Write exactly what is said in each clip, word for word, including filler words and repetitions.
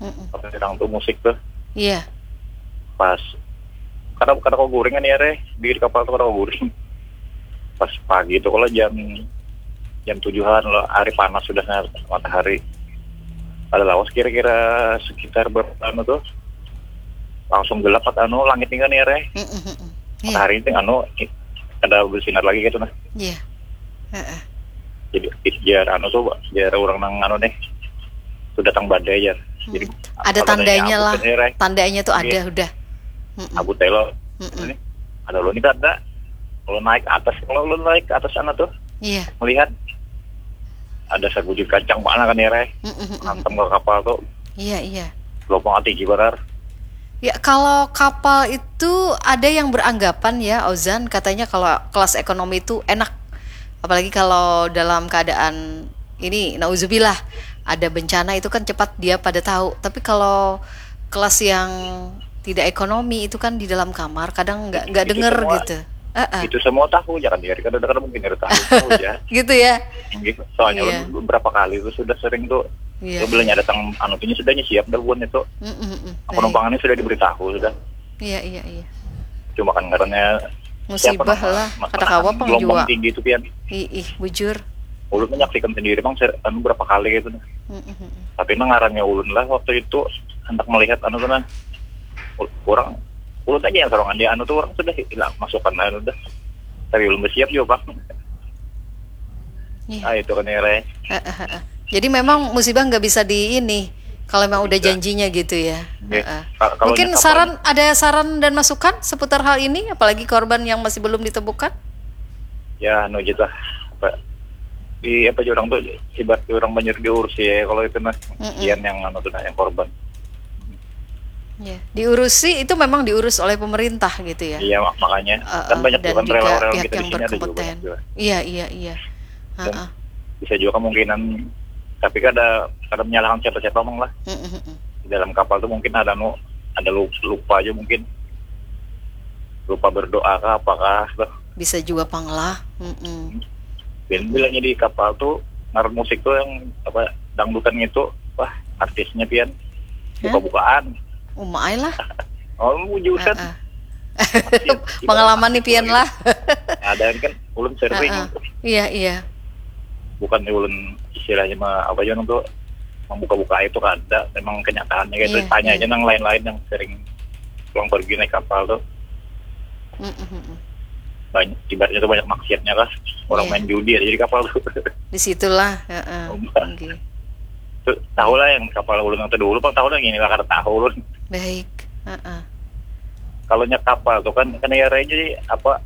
Mm-mm. Pas sedang tuh musik tuh. Iya. Pas kada kada kau guring kan ya, Reh, di kapal tuh kada kau guring. Pas pagi tuh kalau jam jam tujuhan lo, hari panas sudah, matahari ada lawas kira-kira sekitar berapa anu tuh, langsung gelap anu langit nih kan ya, Reh. Mm-mm. Iya. Matahari itu anu kada bersinar lagi gitu nah. Iya. Heeh. Jadi jar anu tuh, jar orang nang anu nih, sudah datang badai, jar. Jadi ada tandanya lah. Tandanya tuh ada udah. Abu telo. Ini ada ulun itu ada. Kalau naik atas, kalau ulun naik ke atas sana tuh, iya, melihat ada sabujur kancang mana kan ya, Reh? Hantam ke kapal tuh. Iya, iya. Gelombang tinggi banar. Ya, kalau kapal itu ada yang beranggapan ya, Ozan, katanya kalau kelas ekonomi itu enak. Apalagi kalau dalam keadaan ini, nauzubillah, ada bencana itu kan cepat dia pada tahu. Tapi kalau kelas yang tidak ekonomi itu kan di dalam kamar, kadang nggak nggak dengar gitu. Itu semua tahu, jangan dikira kada mungkin ada tahu, tahu ya. Gitu ya. Soalnya beberapa kali itu sudah sering tuh. Iya. Belanya datang anu tuh sudah siap dah buan itu. Penumpangannya sudah diberitahu sudah. Iya, iya, iya. Cuma kan karena musibah lah, kada kawa pang jua. Gelombang tinggi itu pian. Ih, bujur. Ulun menyaksikan sendiri bang, anu berapa kali gitu. Tapi nang ngarannya ulun lah waktu itu hendak melihat anu tuh nah. Orang ulun aja yang sorangan di anu tuh, orang sudah hilang masukan anu dah. Tapi ulun bersiap juga bang. Ah, itu kan ya, Reh. Jadi memang musibah nggak bisa di ini kalau memang udah janjinya gitu ya. Mungkin saran, ada saran dan masukan seputar hal ini, apalagi korban yang masih belum ditemukan? Ya, anu aja lah. Apa, di apa aja orang tuh, ibarat orang banyak diurus ya kalau itu nah. Kian yang anu tuh nah, yang korban. Ya, diurusi itu memang diurus oleh pemerintah gitu ya. Iya, makanya kan banyak dan juga pihak yang berkompeten. Iya, iya, iya. Bisa juga kemungkinan, tapi kada kada menyalahkan siapa-siapa mong lah. Di dalam kapal tuh mungkin ada nu ada lupa aja mungkin, lupa berdoa kah apakah tuh. Bisa juga pang lah. Dan bilanya di kapal tuh ngaran musik tuh yang apa, dangdutan gitu, wah, artisnya pian buka-bukaan. Umai lah. Oh, jurusan. Pengalaman nih pian lah. Ada kan ulun sering. Iya, iya. Bukan ulun istilahnya mah apa aja tuh membuka-buka itu kada, memang kenyataannya kayak itu. Tanya aja nang lain-lain yang sering pulang pergi naik kapal tuh. Banyak, ibaratnya tuh banyak maksiatnya lah. Orang main judi aja di kapal tuh. Di situlah. Tahu lah yang kapal ulun atau dulu pang tahu lah, gini lah kada tahu ulun. Baik. Kalau nya kapal tuh kan kena ya, jadi apa,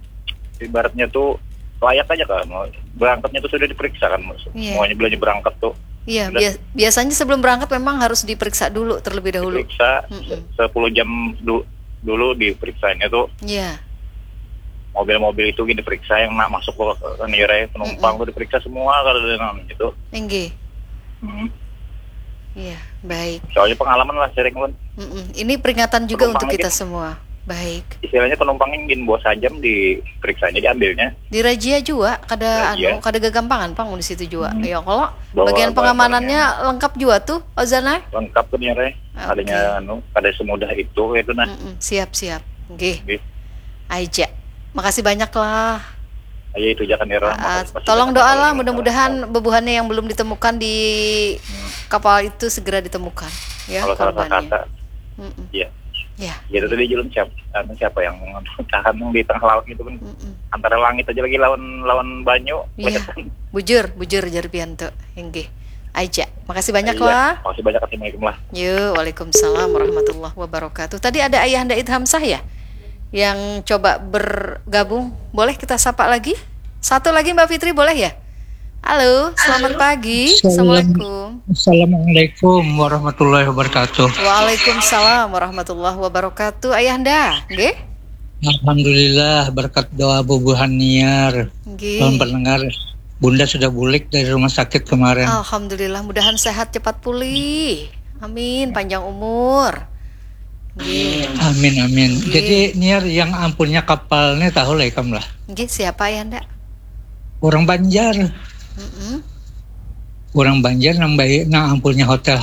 ibaratnya tuh layak aja kan, berangkatnya tuh sudah diperiksa kan, semuanya bilanya berangkat tuh. Iya, biasanya sebelum berangkat memang harus diperiksa dulu terlebih dahulu. Diperiksa sepuluh jam dulu diperiksanya tuh. Iya. Mobil-mobil itu gini diperiksa, yang nak masuk ke, ke Nira, penumpang tuh diperiksa semua kalau ada nang itu. Inggih. Iya, baik. Soalnya pengalaman lah sering pun. Ini peringatan juga untuk kita semua. Baik. Istilahnya penumpang yang gin bos sajam diperiksanya, diambilnya. Dirazia juga, kada anu, kada gagampangan pang di situ juga. Ya kalau bagian pengamanannya lengkap juga tuh, Ozana? Lengkap tuh Nira. Adanya anu, kada semudah itu itu nah. Siap, siap. Nggih. Aja. Makasih banyak lah. Aja itu aja kan Nira. Tolong doalah, mudah-mudahan bebuhannya yang belum ditemukan di kapal itu segera ditemukan ya, kalau salah korbannya. Kata. Iya. Ya. Gitu tadi julun siapa, anu, siapa yang tahan di tengah laut gitu kan. Antara langit aja lagi lawan lawan banyu. Iya. Bujur, bujur jar pian tuh. Inggih. Aja. Makasih banyak lah. Makasih banyak, assalamualaikum lah. Yo, waalaikumsalam warahmatullahi wabarakatuh. Tadi ada Ayahanda Idhamsah ya yang coba bergabung. Boleh kita sapa lagi? Satu lagi Mbak Fitri, boleh ya? Halo, selamat pagi. Assalamualaikum. Assalamualaikum warahmatullahi wabarakatuh. Waalaikumsalam warahmatullahi wabarakatuh. Ayahanda, nggih? Alhamdulillah, berkat doa bubuhan Niar. Nggih. Salam pendengar. Bunda sudah bulik dari rumah sakit kemarin. Alhamdulillah, mudahan sehat cepat pulih. Amin, panjang umur. Nggih. Amin, amin. Nggih. Jadi Niar, yang ampunnya kapalnya tahu lah ikam lah. Nggih, siapa ya ndak? Orang Banjar. Mm-mm. Orang Banjar nang baik, nang ampunnya hotel